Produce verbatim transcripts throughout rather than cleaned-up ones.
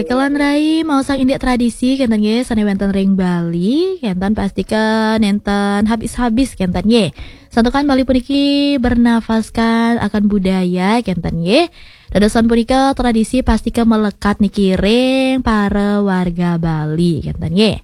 Kalan rai, maosang indik tradisi kenten nggih, sane wenten ring Bali, kenten pastika nenten habis-habis kenten nggih. Santukan Bali puniki bernafaskan akan budaya kenten nggih. Dadosan punika tradisi pastika melekat niki ring para warga Bali kenten nggih.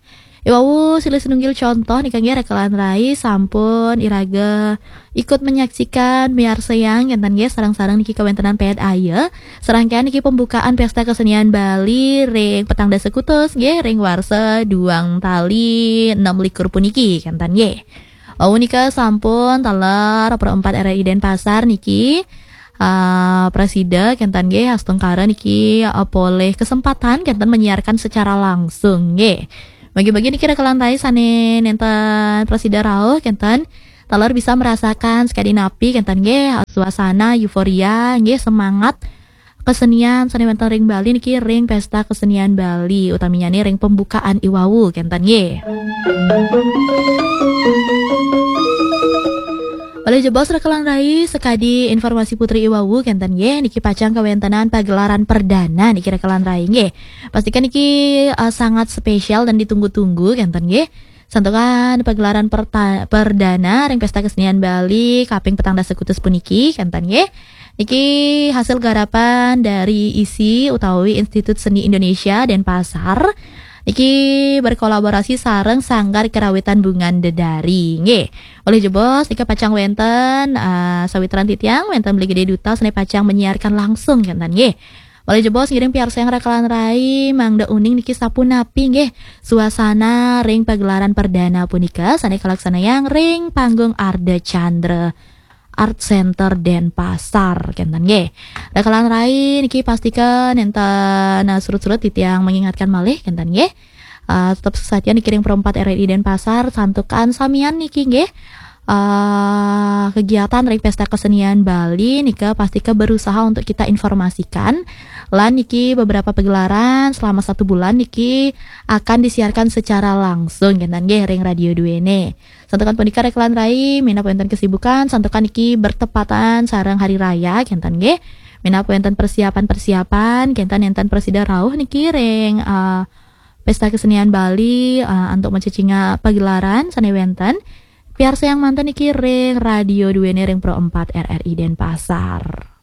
Iwau silih sinunggil contoh nika nggih, Rakalan Rai, sampun iraga ikut menyaksikan, miarsayang kenten nggih, sareng-sareng niki kawentenan Ped Aya. Serangkaian niki pembukaan Pesta Kesenian Bali ring petang dasa kutus nggih, ring warsa duang tali enam likur puniki kenten nggih. Wau nika sampun taler Pro empat R R I Denpasar niki, ah, prasida kenten nggih, astungkara niki, ah, polih kesempatan kenten menyiarkan secara langsung nggih. Bagi-bagi niki Rakalan Rai sane nenten prasida rauh kenten taler bisa merasakan sekadi napi kenten nggih, suasana euforia nggih, semangat kesenian sane wenten ring Bali niki ring Pesta Kesenian Bali, utaminyane ring pembukaan iwau kenten nggih. Malih jebos Rakalan Rai, sekadi informasi putri iwau kenten nggih, niki pacang kawentenan pagelaran perdana niki Rakalan Rai nggih. Pastikan niki, eh, sangat spesial dan ditunggu-tunggu kenten nggih. Santukan pagelaran perta-, perdana ring Pesta Kesenian Bali kaping petang dasa kutus puniki kenten nggih. Niki hasil garapan dari isi utawi Institut Seni Indonesia Denpasar. Niki berkolaborasi sareng Sanggar Kerawitan Bungan Dedari nggih. Malih jebos nika pacang wenten, ah, sawitran titiang, wenten Beli Gede Duta sane pacang menyiarkan langsung kenten nggih. Malih jebos ngiring piarsayang Rakalan Rai, mangda uning niki sapunapi nggih suasana ring pagelaran perdana punika sane kalaksanayang ring panggung Ardha Candra Art Center Denpasar kenten nggih. Rakalan Rai niki pastika nenten, nah, surut-surut titiang mengingatkan malih kenten nggih. Ah, tetep sasatian niki ring Pro empat R R I Denpasar, santukan samian niki nggih. Ah, kegiatan ring Pesta Kesenian Bali nika pastika berusaha untuk kita informasikan. Lan niki beberapa pagelaran selama satu bulan niki akan disiarkan secara langsung kenten nggih ring Radio Duene. Santukan punika Rakalan Rai, minab wenten kesibukan, santukan niki bertepatan sareng hari raya kenten nggih. Minab wenten persiapan-persiapan kenten, nenten prasida rauh niki ring, ah, Pesta Kesenian Bali, ah, antuk macecingak pagelaran sane wenten. Piarsayang manten niki ring Radio Duene ring Pro empat R R I Denpasar.